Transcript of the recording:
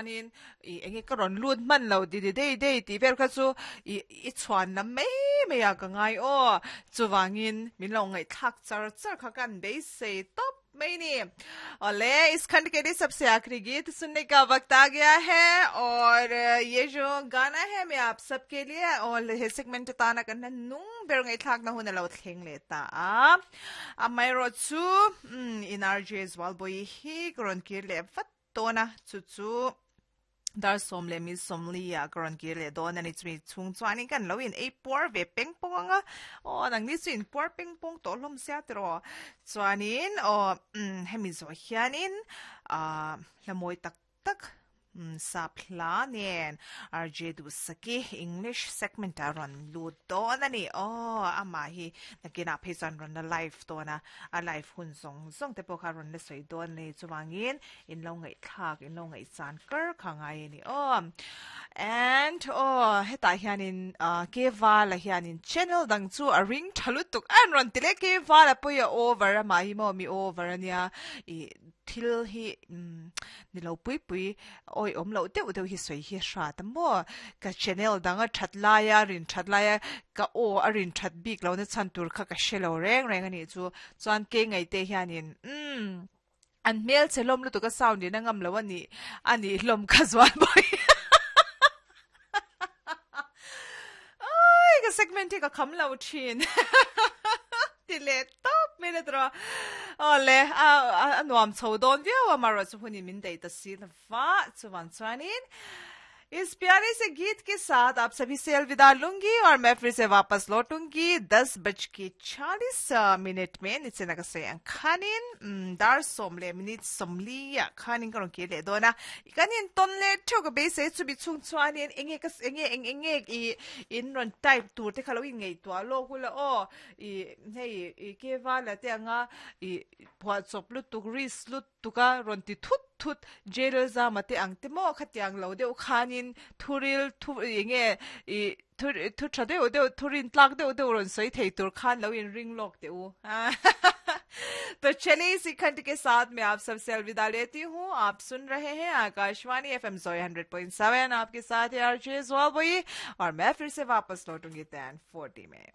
Chuanin i enge ka rawn lut hman lo di di dei dei tih vel kha chu i i chhuan lam mai mai ah ka ngai aw. Chuvangin min lo ngaihthlak char char kha kan beisei tawp mai ni. Awle is khand ke liye sabse aakhri geet sunne ka waqt aa gaya hai aur ye jo gana hai main aap sab ke liye aur he segment atana kan hla nung ber ngaihthlak na hun a lo thleng leh ta a. Amaherawhchu in RJ Zualbawi hi ka rawn kir leh vat dawn a, chu chu dar sawm leh mi sawmli ah ka rawn kir leh dawn a ni. Chumi chhung chuanin kan lo in ei puar ve peng pawng ang a, aw nangni chu in puar peng pawng tawh hlawm sia tiraw. Chuanin aw hemi zawh hianin ah hla mawi tak tak sap hla nen RJ Duhsaki English segment ah rawn lut dawn a ni. Aw amah hi nakinah phei chuan rawn la live dawn a, a live hun zawng zawng te pawh kha rawn la sawi dawn a ni. Chuvangin in lo ngaihthlak, in lo ngaihchan kar kha ngai a ni aw. And aw hetah hianin Kevala hianin channel dang chu a ring tha lutuk a an rawn ti leh Kevala pawh hi a over a mah hi maw mi over a nia ih Thil hi ni lo pui pui awi awm loh deuh deuh hi sawi hi hrat a maw? Ka channel dang a that laia rin that laia ka aw a rin that bik lohna chhan tur kha ka hre lo reng reng a nih chu. Chuan kei ngaihte hianin umm an hmel che hlawm lutuk a sound in a ngam lo a nih a nih hlawm kha zual bawk Ai ka segment hi ka kham lo thin ti leh tawp mai la tawh awle a a nuam chho dawn viau a amaherawh chu hun in min daih ta si lova chuan chuanin इस प्यारे से गीत के साथ आप सभी से अलविदा लूंगी और मैं फिर से वापस लौटूंगी दस बज के चालीस मिनट में नीचे नगर से खानिन dar som le minute somli a khanin ka rawn kir leh dawn a kan in tawn leh theuh ka beisei chumi chhung chuanin enge ka enge eng enge ih in rawn type tur te kha lo inngaihtuah lawk ula aw ih hei ih kevala te anga ih phuahchawp lutuk risk lutuk a rawn ti thut thut jail zama te ang te maw khatiang lo deuh khanin thuril thu enge ih thu thu tha deuh deuh thu rin tlak deuh deuh rawn sawi thei tur khan lo in ring lawk teh u तो चलिए इसी खंड के साथ मैं आप सबसे अलविदा लेती हूँ आप सुन रहे हैं आकाशवाणी एफ एम जोई hundred point seven आपके साथ है आरजे और मैं फिर से वापस लौटूंगी टेन फोर्टी में।